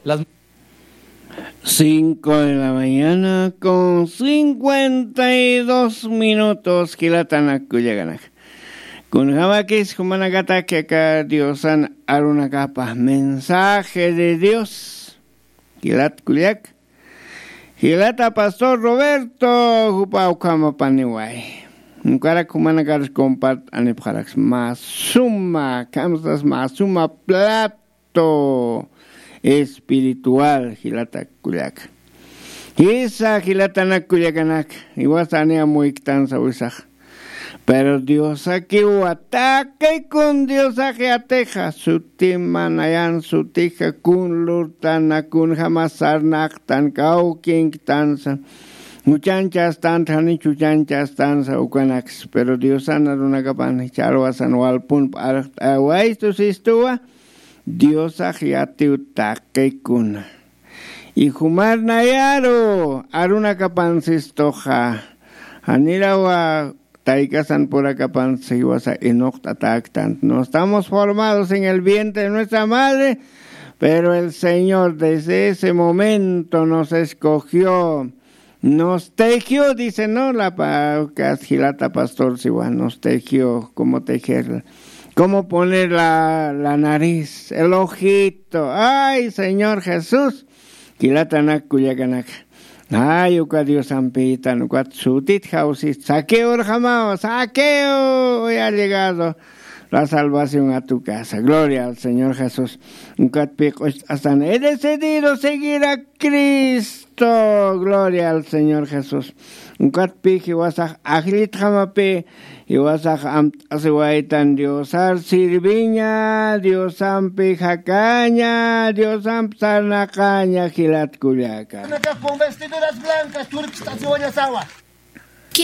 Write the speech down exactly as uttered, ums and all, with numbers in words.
Las cinco de la mañana con cincuenta y dos minutos, jilatanak kullakanak. Kunjamakis jumanakatak aka Diosan arunakapa mensaje de Dios. Jilat kullak. Jilata pastor Roberto, jupa ukhamapaniway. Ukarak jumanakar compart'anipxaraks. Mä suma, kamsas mä suma plato espiritual, jilata kullaka. Jisa, jilatanak kullakanak, iwasa aniya muyktansa wisax. Pero Diosakiwa taqikun, Diosax yatixa, sutima nayan sutixa, kun lurtana, kunjama sarnaqtan, kawkinktansa, juchanchastant, jani juchanchastansa ukanaks. Pero Diosan arunakapan ch'alwasan walpun p'arxt'awaystu sistuwa, Diosax yatiw taqikuna. Y jumar nayaru arunakapan sistuxa, janirawa taykasan purakapan siwasa inuqt'atäktant. No estamos formados en el vientre de nuestra madre, pero el Señor desde ese momento nos escogió, nos tejió, dice, ¿no? La pa-, ukas jilata pastor siwa, nos tejió, cómo tejer, cómo poner la, la nariz, el ojito. Ay, Señor Jesús, jilatanak kullakanak. Ay, uka Diosampitan, ukat sutit jawsist, Zaqueo urjamaw, Zaqueo, hoy ha llegado la salvación a tu casa. Gloria al Señor Jesús. Ukat pi q'ucht'astan, he decidido seguir a Cristo. Gloria al Señor Jesús. Ukat pi jiwasax ajllitjamapi, jiwasax amt'asiwaytan Diosar sirviña, Diosampi jakaña, Diosamp sarnaqaña, jilat kullaka. Con vestiduras blancas, turkist'asiwañasawa.